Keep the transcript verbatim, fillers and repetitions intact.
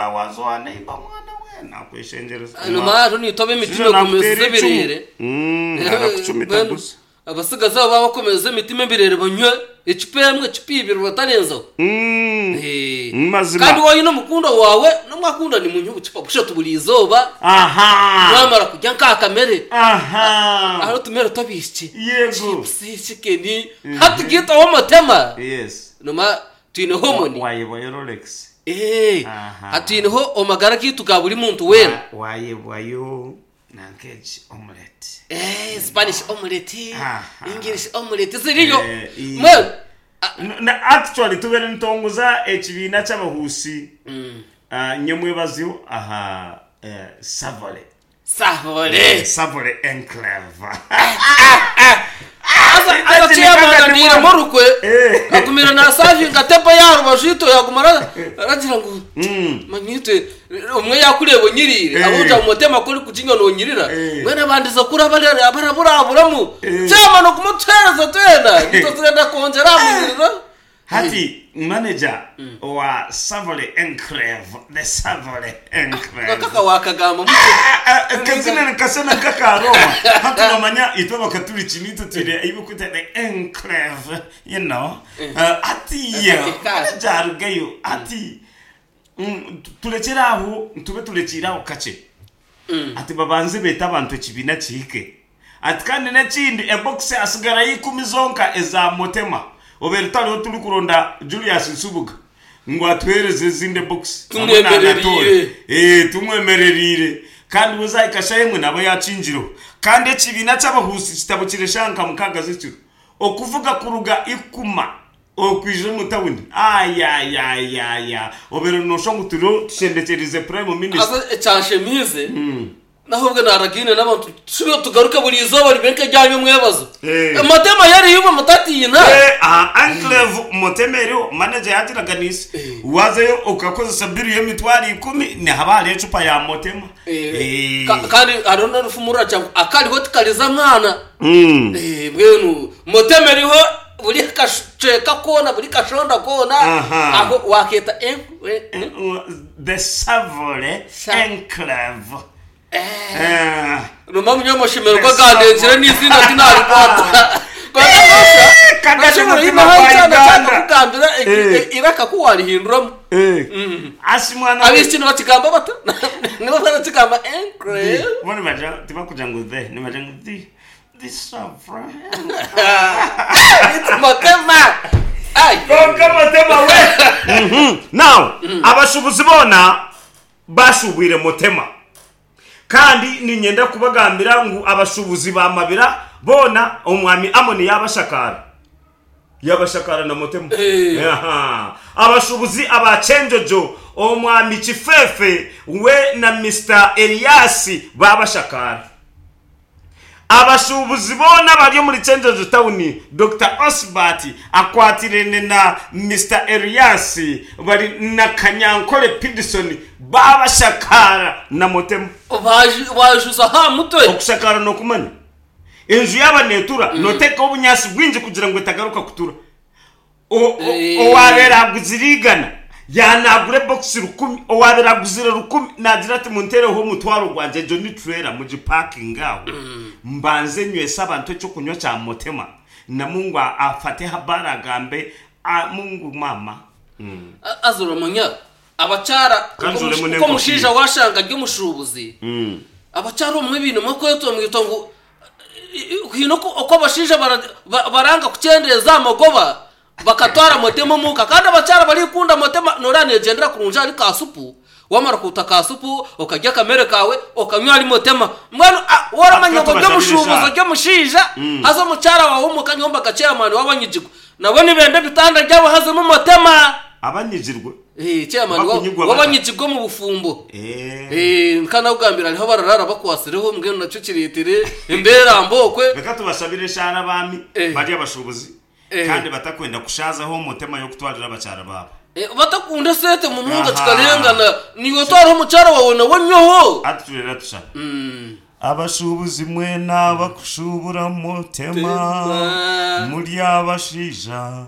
Waza neighbor mwana we nakweshengyereza. Nyuma nitoba emitima ekomeza ebirere. Arakucumita gusa. Abasigazi abo bakomeza emitima ebirere, banywe ecupa emwe, ecupa ibiri, batarenzaho. Eh. Mazima. Kandi wowe n'omukundwa wawe nomwakunda, nimunywe obucupa bushatu buri izooba. Aha mwamara kurya nk'akamere, aha aho tumere tw'abaishiki, yego chips, chicken, hati gitaho omutema. Yes noma twineho homoni. Wayebwayo Rolex. Eh, Aha. hatwineho omagara gaitu ga buri muntu weena. Wayebwayo nankeki, omelette. Eh, Spanish omelette. Aha. English omelette ziriyo. Eh, i- Mbwenu N- na actually tubere nitongoza ekibiina ky'abahuusi Ah, nyemwebaziho aha eh, Savole. Savole. Savole Enclave. Aza aza chairman aniremo rukwe. Eh. Agumira nasavinga tepa yarubaju ito yaguma ara- aragira ngo manyitwe umwe yakureba unyirire. Eh. Abuja mutema kuri kukinywa nonyirira. Eh. Mwene abandiza kuri barara baraburaburamu. Eh. Chairman okumutereza twena nito turenda kongera amurira. Hati manager wa Savole Enclave, the Savole Enclave. Kaka wakagamba muto. Kazina nikasana kaka Roma, hati nomanya itwe bakaturiki nitwe twire ibikuta the enclave you know uh, ati Ati- jarugayo ati mm, turekere aho, tube turekire aho kakye. Ati babanze beta abantu ekibiina kihike. Ati kandi n'ekindi, ebokisi asigarayo ikumi zonka eza Motema. Obere tariho turi kuronda Julius Nsubuga ngu atuhereze ezindi ebokisi. Tumwemererire. Eh, tumwemererire. Kandi buzahika emwe nabo yakingiro. Kandi ekibiina ky'abahusi kitabo kireshanka mukaga z'ekiro okuvuga kuruga ikuma okwija omu tawuni, ayayayaya, obere nosha ngu turiho tushendekyerize prime minister. Aza ekyashemize nahubwo naragine n'abantu tushobora tugaruke buri izooba ribe nk'eryanyu mwebazo. Eh. Amatema yariyo mutatiina. Eh, aha enclave Motema eriho. Manager yagiraganise, wazayo ukakozesa biru y'emitwaro ikumi, nihaba hariho ecupa ya Motema. Eh. Ka- kandi hariho n'orufumurura cyangwa akariho tikariza mwana. Mm. Eh, mbwenu Motema eriho buri kaceka kona, buri kashonda kona. Aha. Aho waketa eh, eh, eh. The Savole Sa- Enclave. Eh. Ruma munyamashemererwa ganenzire n'izina tinarikwata. Kagame mutima cyana wa Uganda. cyakakugambira Eh. iraka ko warihinduramo. Eh. Asi mwana we. Ab'iki nibakigamba bata, nibo barakigamba enclave. Bo nibaja tibakugira ngo the, nibaja ngo the the Savole. It's Motema. Ay. Konka Motema we. Mhm. Now, abashubuzi bona bashubwire Motema. Kandi ninyenda kubagambira ngu abashubuzi ba Mabira bona omwami Amoni yabashakara. Yabashakara na Motema. Eh. Aha. Abashubuzi abachenjojo, omwami Kifefe we na Mister Elias babashakara. Abashubuzi bona bari muri Chenjojo Town, Doctor Osbert akwatirene na Mister Elias bari na Kanyankole Pidison babashakara na Motema. Bajuza ha mutwe. Okushakara nokumanya enju yaba netura, notekaho obunyasi bwingi kugira ngo etagaruka kutura. O- o- Eh. Owabeera aguzire igana yanagura ebokisi rukumi, owabeera aguzire rukumi nagira ati muntereho omutwaro gwangye, egyo ni trailer mugipakinga aho, mbanze nywese abantu ekyokunywa kya Motema, na Mungu afate habari agambe "Ah, Mungu mama." Azuramanya abacara Kandi uremu uko n'enkofiira. mushinja washanga ry'umushubuzi abacara omwe ibintu mwakweto mwito ngu hino ko uko abashinja bara- ba- baranga kucyendereza amagoba bakatwara Motema muka. Kandi abacara barikunda Motema, noranegendera kurunja ari kasupu, wamara kuta kasupu ukarya akamere kawe ukanywa ari Motema. Mbwenu ah, waramanya ngo Atwe ry'umushubuzi tubashabire. ry'umushinja haza omukyara wawe omuka nyomba chairman w'abanyigirwa nabo nibenda ebitanda byabo hazemo Motema. Abanyigirwe? Eh, chairman wa- Bakunyigwa bata. w'abanyigirwa mu bufumbo. Eh. Eh, nkanakugambira hariho bararara bakwasireho, mbwenu nacyo kiretire embera mbokwe. Reka tubashabire eshara abaami Eh. bari abashubuzi Eh. kandi batakwenda kushazaho Omutema yokutwarira abakyara baabo. Eh, batakunda sente munonga. Aha. Kikarengana niwe twaraho omukyara wawe nawe nyoho. Ati turera tushaba abashubuzi mwena bakushubura Mutema. Tema. Muri abashija.